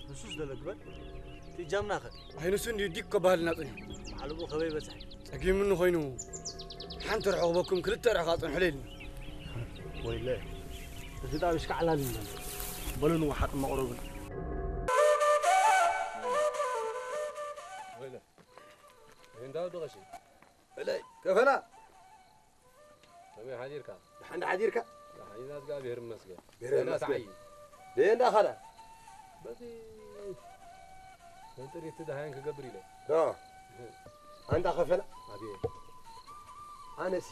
ንሱስ ደሎ ግበር። እቲ እጃምናኸ? ኣይ ንሱ እንድዩ ዲክ ከባህልና ጸኒሑ። ባዕሉ ብኡ ከበይ በጽሐ? ጸጊሙኒ ኮይኑ ሓንቲ ርሕቕ በኩም ክልተ ርሕቕ ኣጽንሑለይ ኢሉኒ። ወይለ፣ እዚ ጣብ ይሽካዕላል እዩ ዘሎ። በሉ ንወሓጥ መቕረብን። ወይለ፣ እንዳ ደቐሺ። በለይ፣ ከፈላ። ከመይ ሓዲርካ? ደሓን ሓዲርካ? ደሓን ኢና፣ እግዚኣብሔር ይመስገን። ገረ ደህና ይመስገን። ተዓይ። ደየ እንዳ ኻዳ? በዚ መንጥሪት ደሃያን ክገብር ኢለ። ዶ? ኣንዳ ከፈላ? ኣቤት። ኣነሲ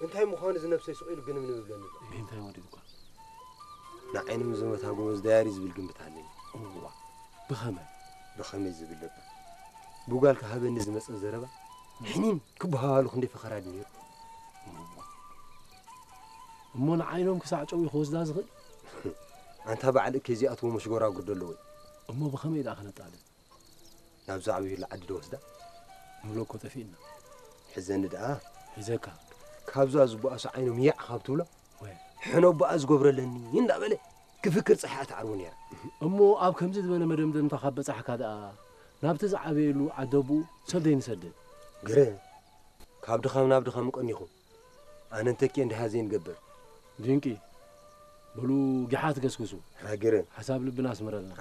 እንታይ ምዃኑ እዚ ነብሰይ ስቕ ኢሉ ግንም ንብለኒ ኣሎ። እንታይ ወዲድኳ? ንዓይኖም ዝመታ ጎበዝ ዳያሪ ዝብል ግምት ኣለኒ። እዋ፣ ብኸመይ? ብኸመይ ዝብል ነበር? ብጓልካ ሃበኒ ዝመጸ ዘረባ፣ ሕኒን ክበሃሃሉ ክንደይ ፈኸራ ድዩ ነይሩ? እሞ ንዓይኖም ክሳዕ ጨው እዩ ክወስዳ ዝኽእል? ኣንታ በዓል እከይ እዚኣትዎ መሽጎራጉር ደለዎ። እሞ ብኸመይ ደኣ ክነጣልን? ናብዛ ዕብዩላ ዓዲ ዶ ወስዳ? ንብሎ እኮ ጠፊእና። ሕዘኒ ደኣ። ሒዘካ። ካብዛ ዝበኣሱ ዓይኖም ያዕ ካብ ትብሎ፣ ወይ። ሕኖ በኣ ዝገብረለኒ እንዳበለ ክፍክር ጸሓ ትዓርቦ ነይራ። እሞ ኣብ ከምዚ ዝበለ መደምደምታ ካብ በጻሕካ ደኣ፣ ናብቲ ዝዓበየሉ ዓደቡ ሰደይ ንሰድድ። ግረ፣ ካብ ድኻም ናብ ድኻም ቀኒኹም። ኣነ እንተኪ እንድሃ ዘይንገብር። ድንቂ። በሉ ጊሓት ገስግሱ። ሃገረ። ሓሳብ ልብና ኣስምረልና።